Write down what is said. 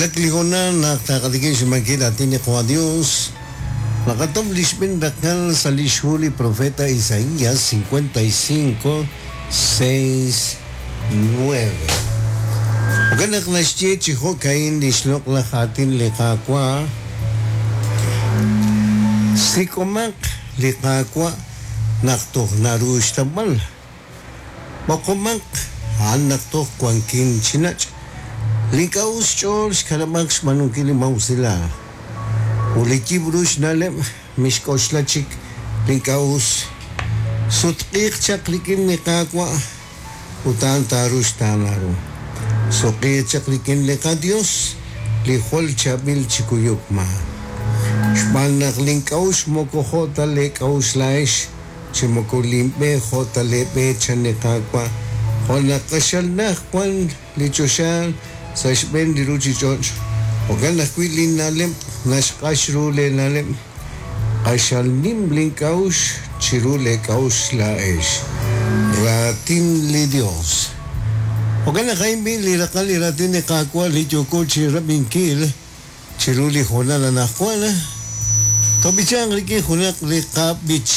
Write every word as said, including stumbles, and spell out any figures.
Xwulak li hoonal naq taqatikib' xnimankil aatin li Qawa' Dios. Naqatom li xb'een raqal sa' li xhu li profeta Isaías cincuenta y cinco, seis, nueve. Jo'kan naq naxye chi jo'ka'in li xloq'laj aatin li Qaawa'. Sik'omaq li Qaawa' naq toj naru xtawb'al. B'oqomaq a'an naq toj wankin chi nach'. Li ink'a' us xch'ool xkanab'aq xb'aanunkil li mawsilal. Ut li yib' ru xna'leb' mixk'oxla chik li ink'a' us. Sutq'iiq chaq rik'in li Qaawa' ut a'an taaru xtaanaru. Suq'iiq chaq rik'in li qaDios li jwal chaab'il chi kuyuk ma. Xb'aan naq li ink'a' us moko jo' ta le k'a'uxl laa'ex, chi moko linb'e jo' ta le b'e chan li Qaawa'. Jo' naq q'axal naj wan li choxaal sa' xb'een li ruchich'och'. Jo'kan ajwi' linna'leb' naxq'ax ru leena'leb'. Q'axal nim link'a'uxl chiru leek'a'uxl laa'ex. Raatin li Dios. Jo'kan naq a'in b'i li raqal li raatin li Qaawa' li yooko chi rab'inkil chiru li hoonal anaqwan. Tob'ichanq rik'in junaq li qab'ich.